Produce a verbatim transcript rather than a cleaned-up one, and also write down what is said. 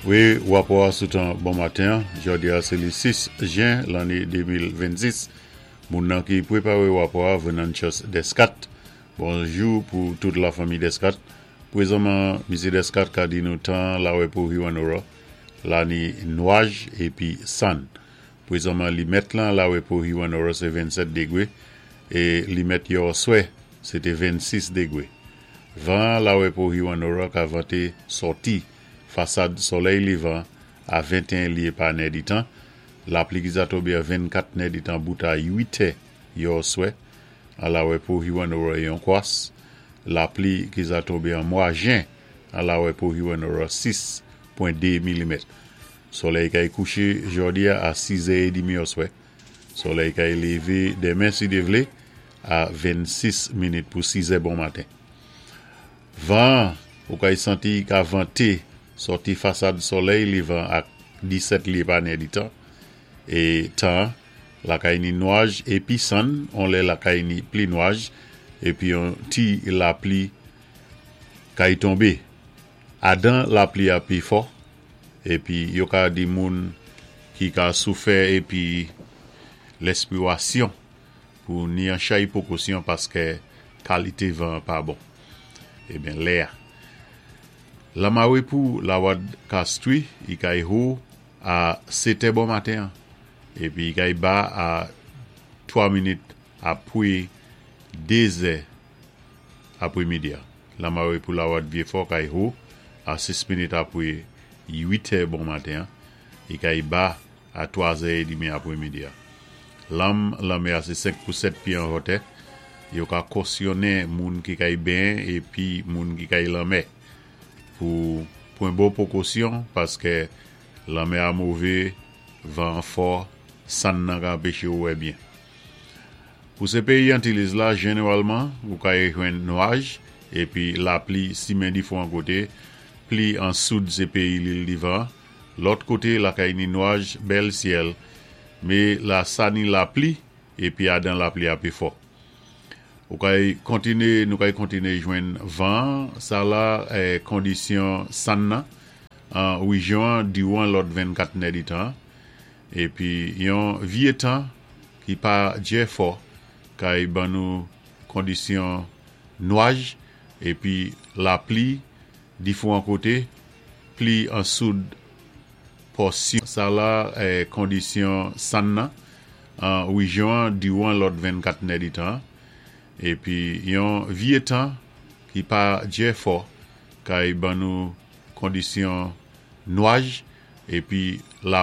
Wi, wapò sou tan bon maten, jòdi a sé li sis jen lanné de mil vennsis. Moun nan ki pwépawé wapò a, Venantius Descat. Bonjou pou tout la fanmi Descat. Pwézanman, Misyé Descat ka di nou tan la wè pou Hewanorra, la ni nwaj épi sann. Pwézanman li mèt lan la wè pou Hewanorra sé vennsèt dégwé é li mèt yèoswè sé té vennsis dégwé. Van la wè pou Hewanorra ka vanté sòti fasad solèy lévan a venteyen lyé pa nèditan. Lapli ki za tonbé a vennkat nèditan bout a uit è yèoswè. A la wè pou Hewanorra yon kwas. Lapli ki za tonbé an mwa jen a la wè pou Hewanorra sis pwen de milimèt. Solèy kay kouché jòdi a sis è édmi oswè. Solèy kay lévé denmen si Dye vlé a vennsis minit pou sis è bon maten. Van ou kay santi ka vanté sòti fasad solèy lévan ak disèt lyé pa nèditan. É tan lakay ni nwaj épi sann, on lè lakay ni pli nwaj épi yon ti lapli kay tonbé. Adan lapli a pi fò épi yo ka di moun ki ka soufè épi lèspiwasyon pou ni an chay pwékosyon paské kalité van pa bon. Ébyen lè a. Lanmawé pou lawad Castries, i kay wo a sèt è bon maten épi i kay ba a twa minit apwé dé zè apwémidi. Lanmawé pou lawad Vieux-Fort kay wo a sis minit apwé uit è bon maten, i kay ba a twa zè édmi apwémidi. Lanm lanmè a sé senk pou sèt pyé an wotè. Yo ka kosyonnen moun ki kay benyen épi moun ki kay lanmè pou pwan bon pwékosyon paské lanmè a mové, van fò, sann nan ka anpéché ou wè byen. Pou sé péyi Antilles la, jénéwalman, ou kay jwenn nwaj épi lapli simen difwan koté, pli an soud sé péyi Lil Divan, lòt koté lakay ni nwaj, bèl syèl, mé la sa ni lapli épi adan lapli a pi fò. Ou kay kontiné, nou kay kontiné jwenn van, sa la eh, kondisyon sann nan, an wéjyon diwan lòt vennkat nèditan, épi yon vyé tan ki pa djè fò, kay ban nou kondisyon nwaj, épi lapli difwan koté, pli an soud pòsyon, sa la eh, kondisyon sann nan, an wéjyon diwan lòt vennkat nèditan, épi yon vyé tan ki pa djè fò, kay ban nou kondisyon nwaj, épi la